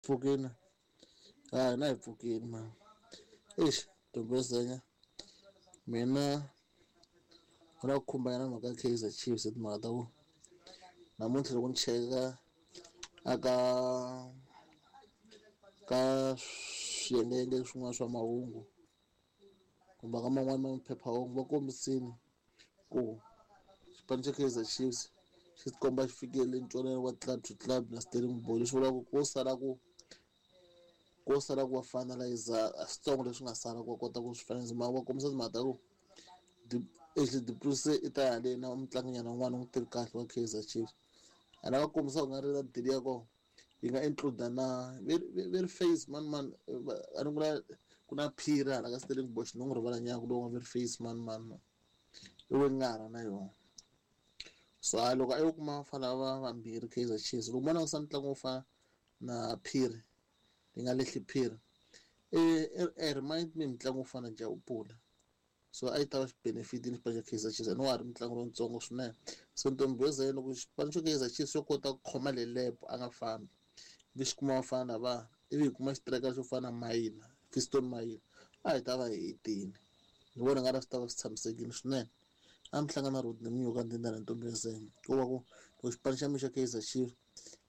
Pfukini a hina hi pfukini ma exi ntombezenya mina ku na ku khumbana na mhaka ya Kaizer Chiefs hi timhaka ta ku namuntlha loko ni cheka aka ka swiyengeyenge swin'wana swa mahungu kumbe ka man'wani maphephahungu va kombisile ku xipano xa Kaizer Chiefs xi tikomba xi fikele ntwanano wa club to club na Stellenbosch leswi vulaka ku ko sala ku ko sala ku va finalize a switsongo leswi nga sala ku va kota ku swi finalize mara va kombisa timhaka ta ku Ashley Du Preez i ta ya le na mutlanginyana un'wana u n'wi tivi kahle wa Kaizer Chiefs ene va kombisa ku nga ri na deal ya kona yi nga include na very face man man a ni ku na ku na phiri hala ka Stellenbosch ni n'wi rivala nyana ku lowu nga very face man man man i wengara na yona so a loko a yo kuma vafana va vambirhi Kaizer Chiefs loko mo langusa ntlangu wo fana na phiri yi nga lehli phiri e remind me mitlangu wo fana na Jabula so a yi ta va xi benefit-ini xipano xa Kaizer Chiefs and wa ha ri mutlangi lontsongo swinene so ntombi yo ze loko xipano xo Kaizer Chiefs xo kota ku khoma lelepo a nga fambi ivi xi kuma vafana lava ivi hi kuma xitireka xo fana na Mayina Fiston Mayina a hi ta va hi hetini ni vona nga ri swi ta va swi tshamisekile swinene a mi hlangana Rodney Munyuka Ndindana ntombi yo Zenya ko va ku loko xipano xa mina xa Kaizer Chiefs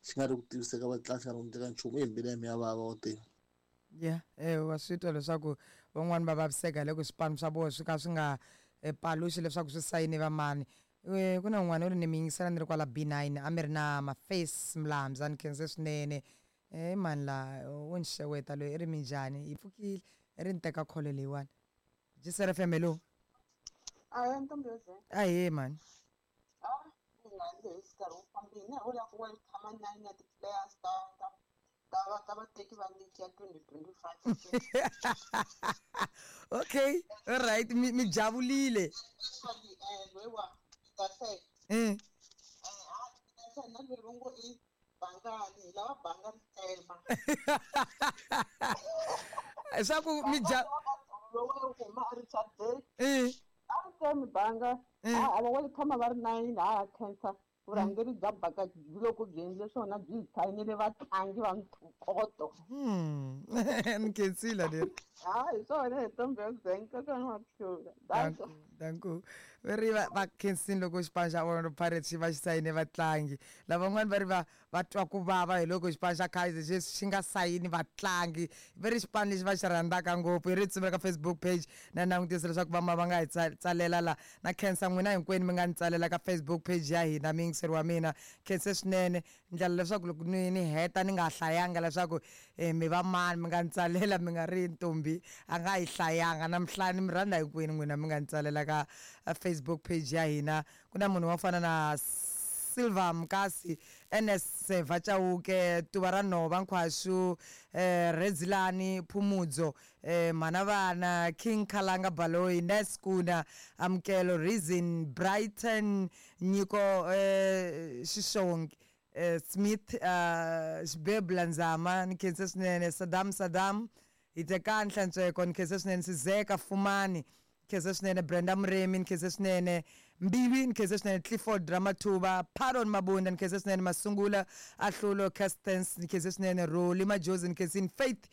xi nga ri ku tiviseka vatlangi xi nga ri ku endleka nchumu i mbilu ya mina ya vava wa tiva. Ya wa swi twa leswaku van'wani va vaviseka hi loko swipano swa vona swi ka swi nga paluxi leswaku swi sayine va mani. Ku na un'wana u ri ni mi yingisela ni ri kwala B9 a mi ri na Maface Mlamza ni khense swinene. I mani la wo ni xeweta loyi i ri minjhani hi pfukile i ri ni teka call leyiwani. Jisere FM hello. Ahee ntombi yo ze. Ahee mhani. Ah, mina lexi nkarhi wu fambile ho lava ku welcome nine ya ti-players ta ta ta va ta vateki va league ya 2025. Okay, all right, mi mi javulile. Especially loyiwa Petersen. Ha Petersen na loyi va ngo i Bangani, hi lava banga ri tsema. Swa ku mi ja lowu huma a Richard Bay. A ri tsemi banga. A va welcome va ri nine ha khensa vurhangeri bya baka loko byi endle swona byi hi sayinile vatlangi va ntokoto. Ni khensile leri. Ha hi swona hi ntombi ya Zenka kona wa hlula. Danko, danko. Va ri va va khensini loko xipano xa Orlando Pirates xi va xi sayine vatlangi. Lavan'wana va ri va va twa ku vava hi loko xipano xa Kaizer Chiefs xi nga sayini vatlangi. Va ri xipano lexi va xi rhandzaka ngopfu. Hi ri tsumela ka Facebook page na langutisa leswaku va ma va nga hi tsalela la. Na khensa n'wina hinkwenu mi nga ni tsalela ka Facebook page ya hina muyingiseri wa mina. Khense swinene ndlela leswaku loko ni ni heta ni nga hlayanga leswaku mi va mani mi nga ni tsalela mi nga ri ntombi a nga yi hlayanga na mi ni mi rhandza hinkwenu n'wina mi nga ni tsalela ka Facebook page ya hina. Ku na munhu wo fana na Silver Mkasi, Ernest Seva Chauke, Tuva ra Nhova Nkhwaxu, Redzilani Phumudzo, Mhana Vana, King Khalanga Baloyi, Nurse Kuna, Amukelo Reason, Brighton Nyiko Xixongi, Smith Xibebula Nzama, ni khense swinene, Saddam Saddam, Hitekani Hlantsweko, ni khense swinene, Sizeka Fumani, khense swinene, Brenda Muremi, ni khense swinene, Mbiwi, ni khense swinene, Clifford Ramathuba, Pardon Mabunda, ni khense swinene, Masungula Ahlulo Castens, ni khense swinene, Roli Majozi, ni khensini, Faith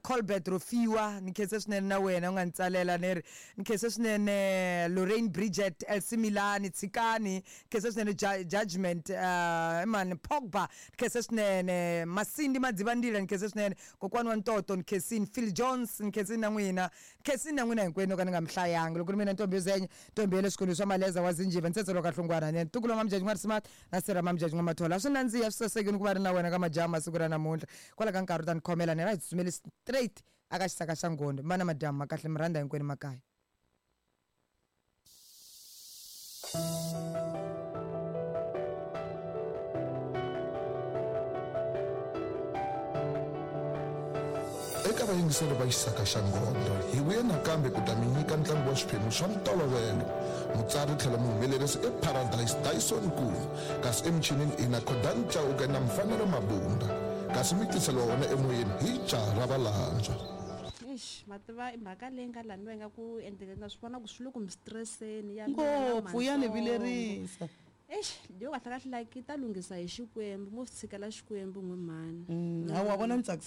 Colbert Rofiwa, ni khense swinene na wena u nga ni tsalela ni ri ni khense swinene, Lorraine Bridget, Elsie Milani, Tshikani, ni khense swinene, Judgment i mani Pogba, ni khense swinene, Masindi Madzivandila, ni khense swinene, Kokwani wa Ntoto, ni khensini, Phil Jones, ni khensini na n'wina, khensini na n'wina hinkwenu ka ni nga mi hlayanga. Loko ri mina ntombi yo zenya, ntombi ya le swikolweni swa Maleza wa Zinjiva, Ntsetselo ka Hlongwana, ni ntukulu wa Mamjaji N'wa-Risima na sirha Mamjaji N'wa-Mathola. A swi nandziha swi sasekile ku va ri na wena ka majaha masiku ra namuntlha. Kwala ka nkarhi u ta ni khomela ni ra hi tsutsumeli straight aka xisaka xa Ngondo. Mana madyambu ma kahle mi rhandza hinkwenu makaya. Eka vayingiseri va Xisaka xa Ngondo, hi vuye nakambe ku ta mi nyika ntlangu wa swiphemu swa ntolovelo. Mutsari tlhelo muhumelerisi i Paradise Dyson Nkuna, kasi emichinini i na Khodan Chauke na Mfanelo Mabunda, kasi mi tiseliwa wona emoyeni hi Jaha ra Valandzwa. Eish ma tiva i mhaka leyi nga laniwa ingaku ende na swi vona ku swi le ku mi stress-eni ya mina na Ngopfu ya ni matsongo. vilerisa. Eish, yo kahle kahle like yi ta lunghisa hi Xikwembu, mo swi tshikela Xikwembu n'we mhani. Hawa vona ni tsakisa.